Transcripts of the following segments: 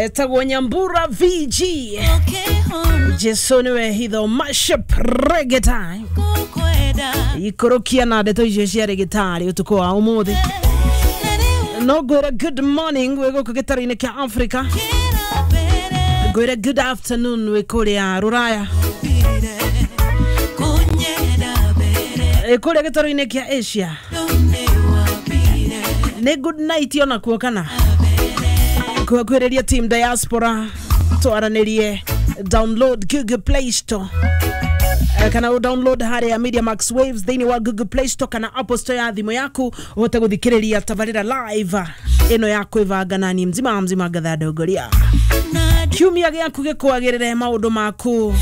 Etagwo Nyambura VG. Jesu niwe hitho mashup reggae time. Ikorokia na ndeto icio cia reggae utuku wa umuthi. No ngwĩre good morning wĩ gũkũ gĩtarũ-inĩ kĩa Africa. Ngwĩre good afternoon wĩ kũrĩa Rũraya. Kũrĩa gĩtarũ-inĩ kĩa Asia. Nĩ good night onakuo kana kwĩrĩria team diaspora twaranĩrie. Download Google Play Store kana u download harĩa Media Max Waves thĩinĩ wa Google Play Store kana Apple Store ya thimũ yaku ũhote gũthikĩrĩria tabarĩra live ĩno ya kwĩbanga nani mzima mzima ngatha ndongoria. Kiumia gĩaku gĩkwagĩrĩre maũndũ maku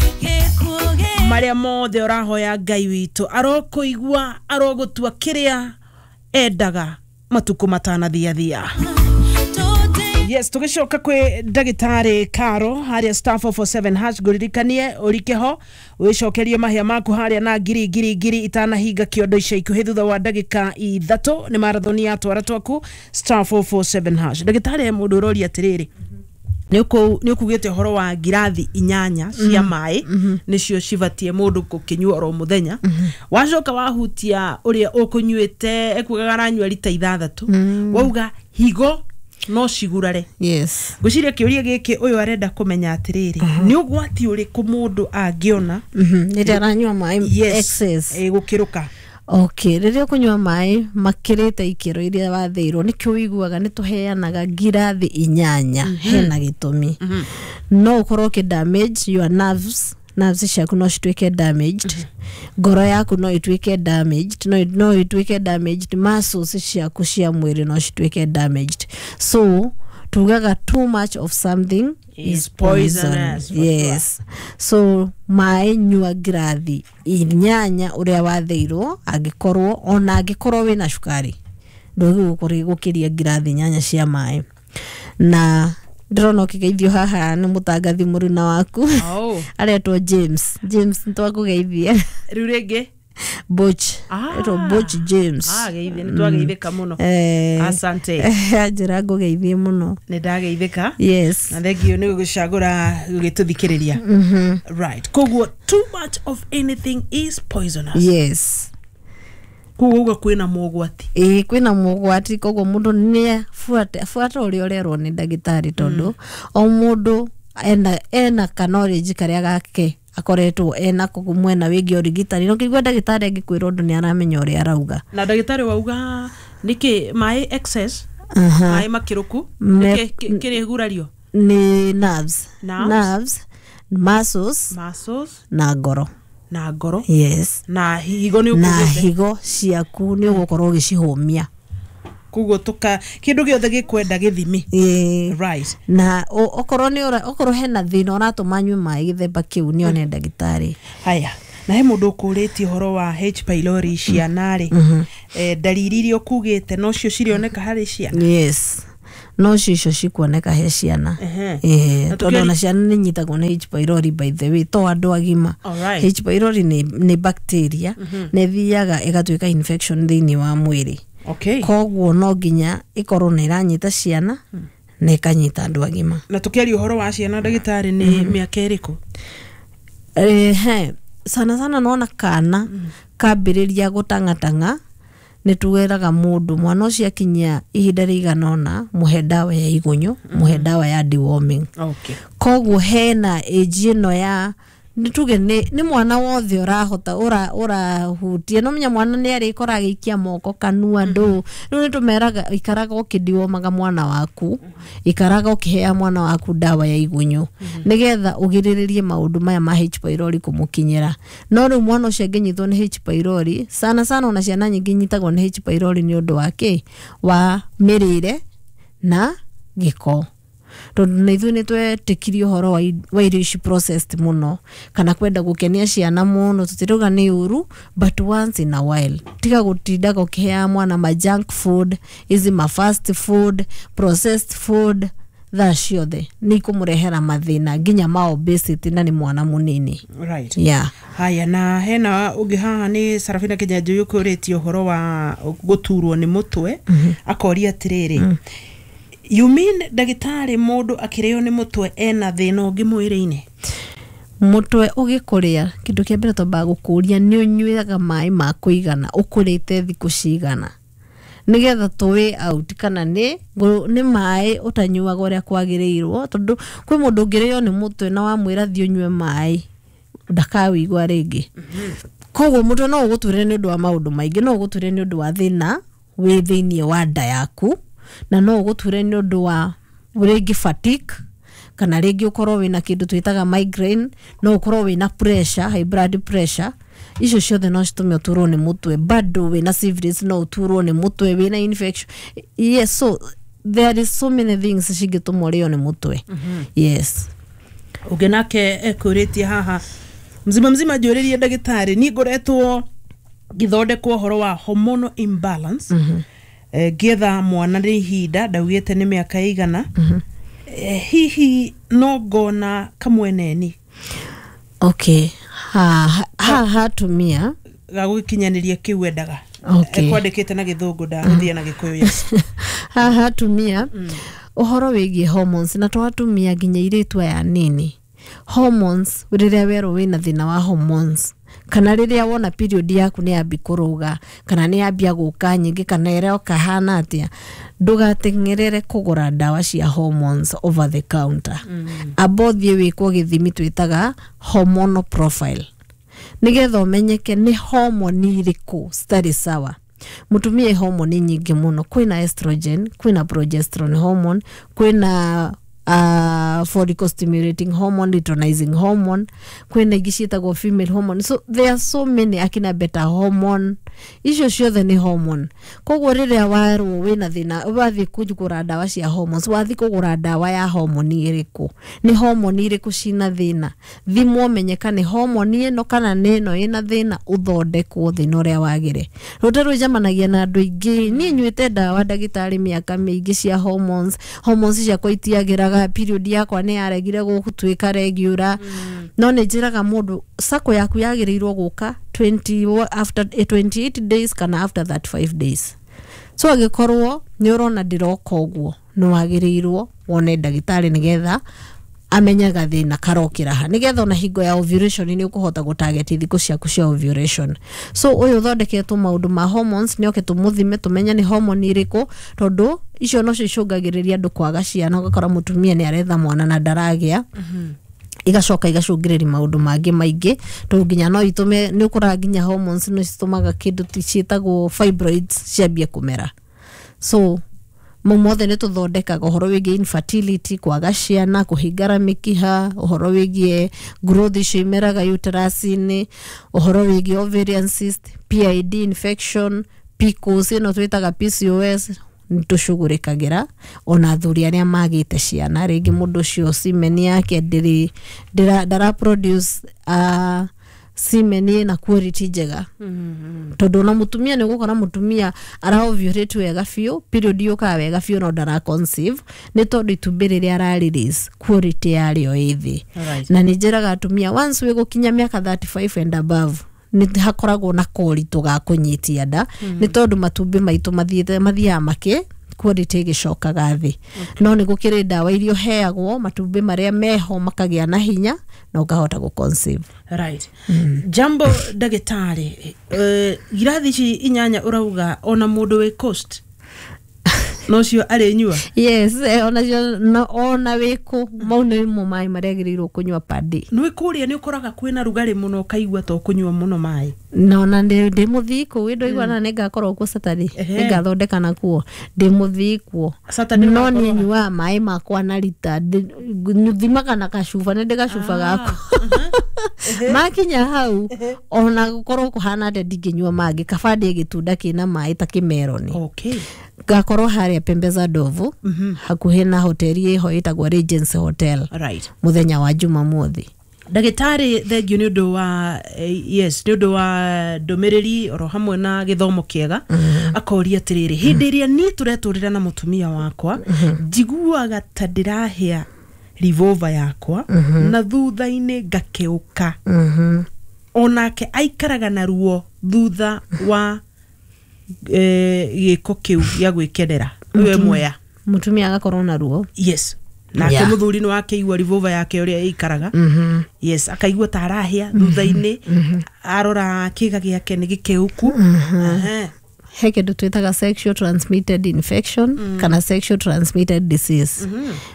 marĩa mothe ũrahoya Ngai witũ arokũigua arogũtua kĩrĩa endaga matuko matanathiathia. Yes, tugicoka kwi ndagitari Karo haria star 447 hash nguririkanie urike ho wicokerie mahia maku haria na ngiri ngiri ngiri itanahinga kiondo ica ikuhi thutha wa ndagika 3 ni marathoni ya twara twaku star 447 hash. Ndagitari mundu uroria atiriri, ni ukugite uhoro wa ngirathi 8 cia mai nicio cibatie mundu gukinyua oro muthenya. Wacoka wahutia uria ukunyuite ekugaga aranyua rita 6 wauga higo no cigurare. Yes. Ngwiciria kiuria giki uyu arenda kumenya atiriri, ni ugwati uriku mundu angiona rĩrĩa aranyua maĩ excess gukiruka? Okay, rĩrĩa ũkũnyua maĩ makĩrĩte ikĩro iria wathĩirwo nĩkĩo ũiguaga nĩ tũheanaga ngirathi 8 hena gĩtũmi. No ũkorwo ũkĩ damage your nerves, nerves ciaku no cituĩke damaged, ngoro yaku no ituĩke damaged, no ituĩke damaged, muscles ciaku cia mwĩrĩ no cituĩke damaged. So tugaga too much of something is poisonous. Yes. So maĩ nyua ngirathi 8 ũrĩa wathĩirwo, angĩkorwo ona angĩkorwo wĩna cukari ndũgĩgũkorwo gũkĩria ngirathi 8 cia maĩ. Na ndĩrona ũkĩgeithio haha nĩ mũtangathi mũruna waku. Aretwo James. James nĩtwakũgeithia. Rĩu rĩngĩ Butch. Aretwo Butch James. Geithie nĩtwageithĩka mũno. Asante. Anjĩra ngũgeithie mũno. Nĩ ndageithĩka. Yes. Na thengio nĩ gũgĩcagũra gũgĩtũthikĩrĩria. Right. Koguo too much of anything is poisonous. Yes. Koguo uga kwĩna mogwati. Ĩĩ kwĩna mogwati, koguo mũndũ nĩ abuate ũrĩa ũrerwo nĩ ndagĩtarĩ tondũ o mũndũ ena ka knowledge karĩa gake akoretwo ena koguo mwena wĩgiĩ ũrigitani. No kĩigua ndagĩtarĩ angĩkwĩra ũndũ nĩ aramenya ũrĩa arauga. Na ndagĩtarĩ wauga nĩkĩ maĩ excess, maĩ makĩrũku nĩkĩ kĩrĩ gurario? Nĩ nerves. Nerves, muscles na ngoro. Na ngoro. Yes. Na higo nĩ ũkugĩte. Na higo ciaku nĩ ũgũkorwo ũgĩcihũmia. Koguo tuka kindu giothe gikwenda githimi. Right. Na okorwo nĩ okorwo hena thĩna ũratũma nyue maĩ gĩthemba kĩu nĩ one ndagĩtarĩ. Haya. Na he mũndũ ũkũrĩtie ũhoro wa H pylori ciana rĩ, ndariri iria ũkugĩte no cio cirioneka harĩ ciana? Yes. No cio cikuoneka he ciana. Tondũ ona ciana nĩ nyitagwo nĩ H pylori by the way, to andũ agima. H pylori nĩ bacteria na ĩthiaga ĩgatuĩka infection thĩinĩ wa mwĩrĩ. Okay. Koguo no nginya ĩkorwo nĩ ĩranyita ciana na ĩkanyita andũ agima. Na tũkĩaria ũhoro wa ciana ndagĩtarĩ nĩ mĩaka ĩrĩkũ? Sana sana nona kana kambĩrĩria gũtang'atang'a nĩ tuweraga mũndũ mwana ũcio akinyia ihinda rĩigana ũna mũhe ndawa ya igunyũ, mũhe ndawa ya deworming. Okay. Koguo hena age ĩno ya nĩ tuge nĩ mwana wothe ũrahota ũrahutia no menya mwana nĩ arĩkora agĩikia moko kanua ndũ. Rĩu nĩ tũmeraga ikaraga ũkĩdiwomaga mwana waku, ikaraga ũkĩhea mwana waku ndawa ya igunyũ nĩgetha ũgirĩrĩrie maũndũ maya ma H pylori kũmũkinyĩra. No rĩu mwana ũcio angĩnyitwo nĩ H pylori, sana sana ona ciana nyingĩ inyitagwo nĩ H pylori nĩ ũndũ wa kĩ? Wa mĩrĩre na gĩko. Tondũ na ithuĩ nĩ twetĩkirie ũhoro wa irio ici processed mũno kana kwenda gũkenia ciana mũno, tũtirauga nĩ ũru but once in a while. Tiga gũtindaga ũkĩheaga mwana ma junk food, izi ma fast food, processed food, thaa ciothe nĩ ikũmũrehera mathĩna nginya ma obesity na nĩ mwana mũnini. Right. Yeah. Haya, na hena ũngĩ haha nĩ Sarafina Kĩnyanjui ũkũrĩtie ũhoro wa gũturwo nĩ mũtwe, akoria atĩrĩrĩ, You mean ndagĩtarĩ, mũndũ akĩrĩo nĩ mũtwe ena thĩna ũngĩ mwĩrĩ-inĩ? Mũtwe ũgĩkũrĩa, kĩndũ kĩa mbere twambaga gũkũria nĩ ũnyuaga maĩ ma kũigana, ũkũrĩte thikũ cigana, nĩgetha tũwĩ out kana nĩ maĩ ũtanyuaga ũrĩa kwagĩrĩirwo, tondũ kwĩ mũndũ ũngĩrĩo nĩ mũtwe na wamwĩra thiĩ ũnyue maĩ ndakawĩigua rĩngĩ. Koguo mũtwe no ũgũture nĩ ũndũ wa maũndũ maingĩ, no ũgũture nĩ ũndũ wa thĩna wĩ thĩiniĩ wa nda yaku, na no ũgũture nĩ ũndũ wa rĩngĩ fatigue, kana rĩngĩ ũkorwo wĩna kĩndũ twĩtaga migraine, no ũkorwo wĩna pressure, high blood pressure. Icio ciothe no citũme ũturwo nĩ mũtwe. Bado wĩna syphilis no ũturwo nĩ mũtwe, wĩna infection. Yes, so there is so many things cingĩtũma ũrĩo nĩ mũtwe, yes. Ũngĩ nake ekũrĩtie haha, mzima mzima, njũrĩrie ndagĩtarĩ, niĩ ngoretwo ngĩthondekwo ũhoro wa hormonal imbalance, ngĩetha mwana nĩ ihinda ndaugĩte nĩ mĩaka ĩigana. Hihi no ngona kamweneni? Okay, ha ha hatumia ga gũgĩkinyanĩria kĩu endaga. Ekwandĩkĩte na Gĩthũngũ, ndagũthiĩ na Gĩkũyũ, yes. Haha atumia, ũhoro wĩgiĩ hormones, na to atumia, nginya airĩtu aya nini, hormones, rĩrĩa werwo wĩna thĩna wa hormones, kana rĩrĩa wona period yaku nĩ yambi kũrũga, kana nĩ yambia gũka nyingĩ, kana ĩroka hana atĩa, ndũgateng'erere kũgũra ndawa cia hormones over the counter. Amba ũthiĩ wĩkwo gĩthimi twĩtaga hormonal profile, nĩgetha ũmenyeke nĩ homoni irĩkũ citarĩ sawa. Mũtumia ĩ homoni nyingĩ mũno: kwĩna estrogen, kwĩna progesterone hormone, kwĩna follicle stimulating hormone, luteinizing hormone, kwĩna ingĩ ciĩtagwo female hormone. So there are so many, akina beta hormone, icio ciothe nĩ hormone. Koguo rĩrĩa warwo wĩna thĩna, wathiĩ kũgũra ndawa cia hormones, wathiĩ kũgũra ndawa ya homoni ĩrĩkũ? Nĩ homoni irĩkũ cina thĩna? Thimwo menyeka nĩ homoni ĩno kana nĩ ĩno ĩna thĩna, ũthondekwo thĩna ũrĩa wagĩre. Rũta rwĩcemanagia na andũ aingĩ, niĩ nyuĩte ndawa, ndagĩtarĩ, mĩaka mĩingĩ cia hormones, hormones ciakwa itiagĩraga, period yakwa nĩ yaregire gũtuĩka regular. No nĩ njĩraga mũndũ cycle yaku yagĩrĩirwo gũka 20 after 28 days kana after 35 days. So angĩkorwo nĩ ũrona ndĩroka ũguo, nĩ wagĩrĩirwo wone ndagĩtarĩ nĩgetha amenye gathĩna karokĩra ha, nĩgetha ona hingo ya ovulation nĩ ũkũhota gũtarget thikũ ciaku cia ovulation. So ũyũ ũthondeketwo maũndũ ma hormones nĩ oke tũmũthime, tũmenye nĩ hormone irĩkũ, tondũ icio nocio icũngagĩrĩria andũ kwaga ciana. Ũgakora mũtumia nĩ aretha mwana na ndaragĩa, igacoka igacũngĩrĩria maũndũ mangĩ maingĩ, tondũ nginya no itũme nĩ ũkoraga nginya hormones no citũmaga kĩndũ ciĩtagwo fibroids ciambie kũmera. So mau mothe nĩ tũthondekaga, ũhoro wĩgiĩ infertility, kwaga ciana, kũhingara mĩkiha, ũhoro wĩgiĩ growth icio imeraga uterus-inĩ, ũhoro wĩgiĩ ovarian cyst, PID infection, PCOS ĩno twĩtaga PCOS, nĩ tũcugurĩkagĩra. Ona athuri arĩa magĩte ciana, rĩngĩ mũndũ ũcio semen yake ndĩrĩ ndara produce semen ĩna quality njega, tondũ ona mũtumia nĩ ũgũkora mũtumia ara ovulate wega biũ, period yũkaga wega biũ, no ndara conceive nĩ tondũ itumbĩ rĩrĩa ara release quality yarĩo ĩ thĩ. Na nĩ njĩraga atumia, once wĩ gũkinya mĩaka 35 and above, nĩ hakoragwo na koritũ ga kũnyitia nda, nĩ tondũ matumbĩ maitũ mathiĩte mathiaga makĩ quality ĩgĩcokaga thĩ. No nĩ gũkĩrĩ ndawa iria ũheagwo, matumbĩ marĩa meho makagĩa na hinya na ũkahota gũ conceive. Right. Jambo ndagĩtarĩ, ngirathi ici 8 ũrauga ona mũndũ wĩ coast nocio arĩnyua? Yes, onacio ona wĩkũ, mau nĩmo maĩ marĩa agĩrĩirwo kũnyua per day. Nĩ kũrĩa nĩ ũkoraga kwĩna rugarĩ mũno, ũkaigua to kũnyua mũno maĩ. Na ona ndĩ mũthii kũu ĩndũ na nĩ ngakorwo kuo Saturday. Nĩ ngathondeka nakuo ndĩ mũthii kuo. Saturday no ũgakorwo niĩ nyuaga maĩ makwa na rita, thimaga na gacuba, nĩ ndĩ gacuba gakwa. Makinya hau, ona gũkorwo kũhana atĩa, ndingĩnyua mangĩ, kaba ndĩe gĩtunda kĩna maĩ ta kĩmeroni. Ngakorwo harĩa Pembe za Ndovu, hakuhĩ na hoteli ĩho ĩtagwo Regency Hotel, mũthenya wa Jumamothi. Ndagĩtarĩ, thengio nĩ ũndũ wa yes, nĩ ũndũ wa ndũmĩrĩri oro hamwe na gĩthomo kĩega. Akoria atĩrĩrĩ, hĩndĩ ĩrĩa niĩ tũretũrĩra na mũtumia wakwa, njiguaga ta ndĩrahĩa revolver yakwa na thutha-inĩ ngakeũka, onake aikaraga na ruo thutha wa gĩko kĩu gĩa gwĩkenera. Ũyũ e Mwea. Mutumia agakorwo na ruo. Yes, nake muthuri nĩ wakeigua revolver yake ũrĩa ĩikaraga. Yes, akaigua ta arahĩa thutha-inĩ, arora kĩga gĩake nĩ gĩkĩũku. He kĩndũ twĩtaga sexual transmitted infection kana sexual transmitted disease.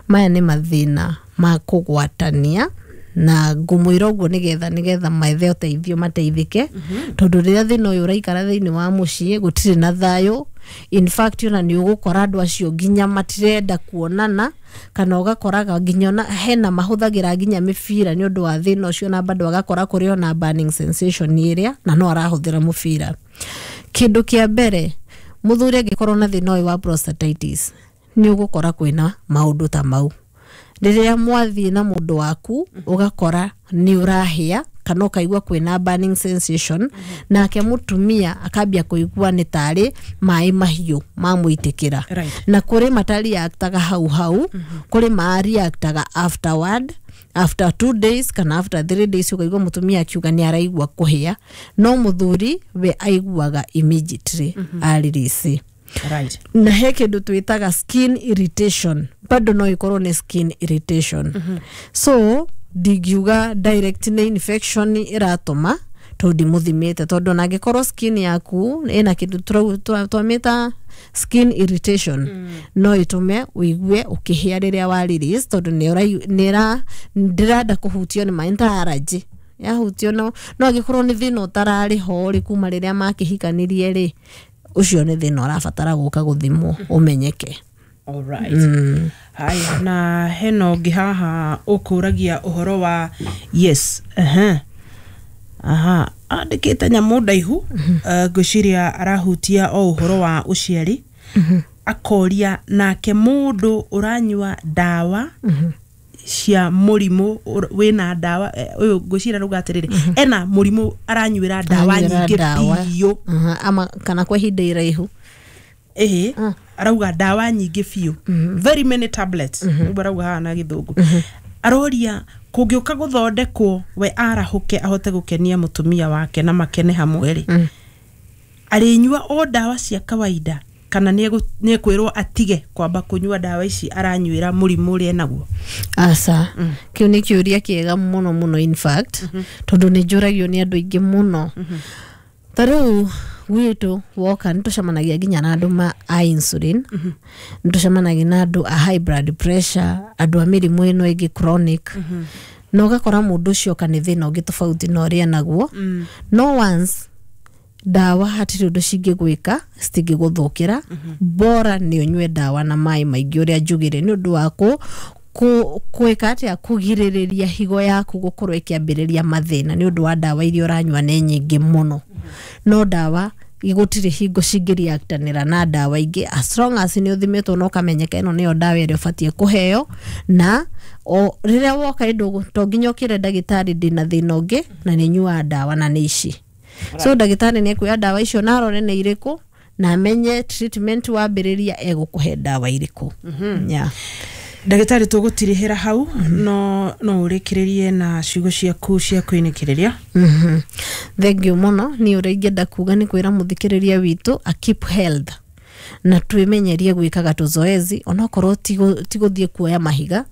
Maya nĩ mathĩna ma kũgwatania, na ngũmwĩra ũguo nĩgetha methe ũteithio, mateithĩke, tondũ rĩrĩa thĩna ũyũ ũraikara thĩinĩ wa mũciĩ, gũtirĩ na thayũ. In fact, ona nĩ ũgũkora andũ acio nginya matirenda kuonana, kana ũgakoraga nginya ona hena mahũthagĩra nginya mĩbira nĩ ũndũ wa thĩna ũcio, na bado agakora kũrĩ ona burning sensation ĩrĩa na no arahũthĩra mũbira. Kĩndũ kĩa mbere, mũthuri angĩkorwo na thĩna ũyũ wa prostatitis, nĩ ũgũkora kwĩna maũndũ ta mau. Rĩrĩa mwathiĩ na mũndũ waku, ũgakora nĩ ũrahĩa kana ũkaigua kwĩna burning sensation, nake mũtumia akambia kũigua nĩ tarĩ maĩ mahiũ mamũitĩkĩra. Na kũrĩ matareactaga hau hau, kũrĩ mareactaga afterward, after 2 days kana after 3 days, ũkaigua mũtumia akiuga nĩ araigua kũhĩa, no mũthuri we aiguaga immediately aririsi. Na he kĩndũ twĩtaga skin irritation, bado no ĩkorwo nĩ skin irritation. So ndingiuga direct nĩ infection ĩratũma, tondũ ndimũthimĩte, tondũ ona angĩkorwo skin yaku ĩna kĩndũ twamĩta skin irritation, no ĩtũme ũigue ũkĩhĩa rĩrĩa wa release, tondũ nĩ ndĩrenda kũhutio nĩ maĩ ta allergy yahutio. No angĩkorwo nĩ thĩna ũtararĩ ho rĩ kuma rĩrĩa makĩhikanirie rĩ, ũcio nĩ thĩna ũrabatara gũka gũthimwo ũmenyeke. Alright. Haya, na hena ũngĩ haha ũkũragia ũhoro wa, yes, aha, andĩkĩte nyamũ ndaihu. Ngwĩciria arahutia o ũhoro wa ũciari. Akoria, nake mũndũ ũranyua ndawa cia mũrimũ wĩna ndawa, ũyũ ngwĩciria arauga atĩrĩrĩ, ena mũrimũ aranyuĩra ndawa Aranyuĩra nyingĩ ndawa. biũ. Aha, ama kana kwa ihinda iraihu. Ĩhĩ, arauga ndawa nyingĩ biũ, very many tablets, ũguo arauga haha na Gĩthũngũ. Aroria, kũngĩũka gũthondekwo we arahũke ahote gũkenia mũtumia wake na makene hamwe rĩ, arĩnyua o ndawa cia kawaida kana nĩ ekwĩrwo atige kwamba kũnyua ndawa ici aranyuĩra mũrimũ ũrĩa enaguo? Aca, kĩu nĩ kĩũria kĩega mũno mũno, in fact, tondũ nĩ njũragio nĩ andũ aingĩ mũno. Ta rĩu gwitũ woka nĩ tũcemanagia nginya na andũ ma a insulin, nĩ tũcemanagia na andũ a high blood pressure, andũ a mĩrimũ ĩno ĩngĩ chronic, na ũgakora mũndũ ũcio oka nĩ thĩna ũngĩ tofauti na ũrĩa naguo. No once ndawa hatirĩ ũndũ cingĩgwĩka, citingĩgũthũkĩra. Bora nĩ ũnyue ndawa na maĩ maingĩ ũrĩa njugire, nĩ ũndũ wa kwĩka atĩa, kũgirĩrĩria higo yaku gũkorwo ĩkĩambĩrĩria mathĩna nĩ ũndũ wa ndawa iria ũranyua nĩ nyingĩ mũno. No ndawa gũtirĩ hingo cingĩreactanĩra na ndawa ingĩ, as long as nĩ ũthimĩtwo na ũkamenyeka ĩno nĩyo ndawa ĩrĩa ũbatiĩ kũheo. Na o rĩrĩa woka ĩndũ, to nginya ũkĩre ndagĩtarĩ, "Ndĩna thĩna ũngĩ na nĩ nyuaga ndawa na nĩ ici." So ndagĩtarĩ nĩ ekuoya ndawa icio na arore nĩ irĩkũ na amenye treatment wambĩrĩria egũkũhe ndawa irĩkũ, yeah. Ndagĩtarĩ, tũgũtirihĩra hau, no ũrĩkĩrĩrie na ciugo ciaku cia kwĩnĩkĩrĩria. Thank you mũno. Niĩ ũrĩa ingĩenda kuga nĩ kwĩra mũthikĩrĩria witũ a keep health na twĩmenyerie gwĩkaga tũzoezi, onokorwo ti gũthiĩ kuoya mahiga,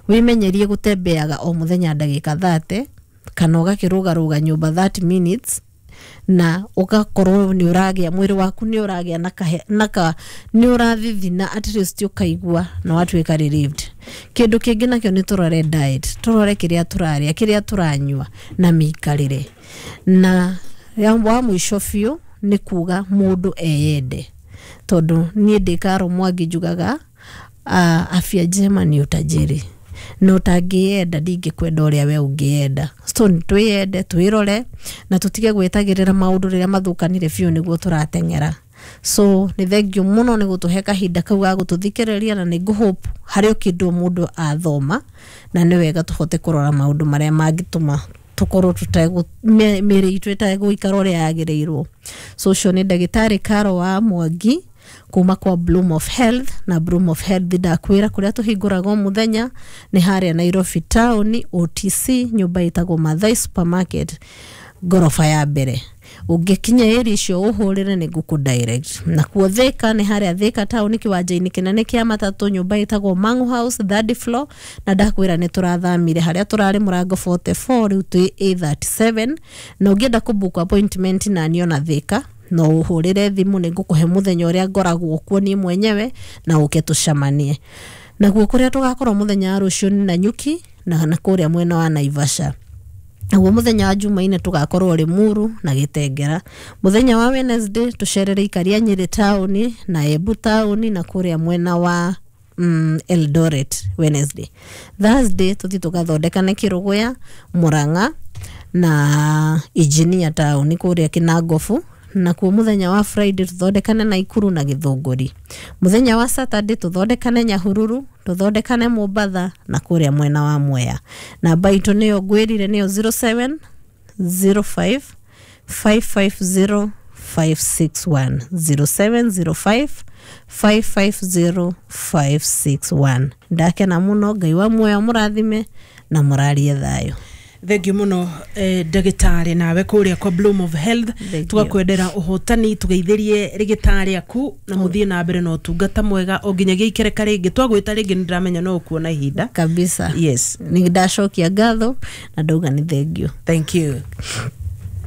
wĩmenyerie gũtembeaga o mũthenya ndagĩka 30 kana ũgakĩrũgarũga nyũmba 30 minutes, na ũgakorwo nĩ ũragĩa mwĩrĩ waku nĩ ũragĩa na ka nĩ ũrathithina, at least ũkaigua na watuĩka relieved. Kĩndũ kĩngĩ nakĩo nĩ tũrore diet, tũrore kĩrĩa tũrarĩa, kĩrĩa tũranyua na mĩikarĩre. Na wa mũico biũ nĩ kuga mũndũ eyende, tondũ niĩ ndĩ Karo Mwangi njugaga, afya njema ni utajiri, na ũtangĩyenda ndingĩkwenda ũrĩa we ũngĩyenda. So nĩ twĩyende, twĩrore na tũtige gwĩtagĩrĩra maũndũ rĩrĩa mathũkanire biũ nĩguo tũrateng'era. So nĩ thank you mũno nĩ gũtũhe kahinda kau ga gũtũthikĩrĩria, na nĩ ngũhope harĩ o kĩndũ mũndũ athoma, na nĩ wega tũhote kũrora maũndũ marĩa mangĩtũma tũkorwo tũtegũ mĩĩrĩ itũ ĩtegũikara ũrĩa yagĩrĩirwo. So ũcio nĩ ndagĩtarĩ Karo wa Mwangi kuma kwa Bloom of Health. Na Bloom of Health, ndakwĩra kũrĩa tũhingũraga o mũthenya nĩ harĩa Nairobi town, OTC, nyũmba ĩtagwo Mathai Supermarket, ngoroba ya mbere. Ũngĩkinya area icio ũhũrĩre nĩ ngũkũ direct. Nakuo Thika nĩ harĩa Thika town, kĩwanja-inĩ kĩnene kĩa matatũ, nyũmba ĩtagwo Mangu House, third floor. Na ndakwĩra nĩ tũrathamire harĩa tũrarĩ mũrango 44, rĩu twĩ A37. Na ũngĩenda kũ book appointment na niĩ ona Thika, no ũhũrĩre thimũ, nĩ ngũkũhe mũthenya ũrĩa ngoragwo kuo niĩ mwenyewe na ũke tũcemanie. Naguo kũrĩa tũgakorwo mũthenya wa rũciũ nĩ Nanyuki na kũrĩa mwena wa Naivasha. Naguo mũthenya wa Jumaine tũgakorwo Limuru na Gĩtengera. Mũthenya wa Wednesday tũcerere ikaria Nyĩrĩ taũni na Embu taũni na kũrĩa mwena wa Eldoret Wednesday. Thursday tũthiĩ tũgathondekane Kĩrũgũya, Murang'a na Engineer taũni kũrĩa Kinangofu. Nakuo mũthenya wa Friday tũthondekane Naikuru na Gĩthũngũri. Mũthenya wa Saturday tũthondekane Nyahururu, tũthondekane Mombatha na kũrĩa mwena wa Mwea. Namba itũ nĩyo ngwĩrire, nĩyo 0705 550 561, 0705 550 561. Ndakena mũno. Ngai wa muoyo mũrathime na mũrarie thayũ. Thengiũ mũno, ndagĩtarĩ, nawe kũrĩa kwa Bloom of Health. Thank you. Tugakwendera ũhotani, tũgeithĩrie rĩgĩtarĩ aku na mũthiĩ na mbere na ũtungata mwega o nginyagia ikereka rĩngĩ twagwĩta rĩngĩ. Nĩ ndĩramenya no ũkuona ihinda. Kabisa. Yes. Nĩ ndacokia ngatho na ndauga nĩ thengiũ. Thank you.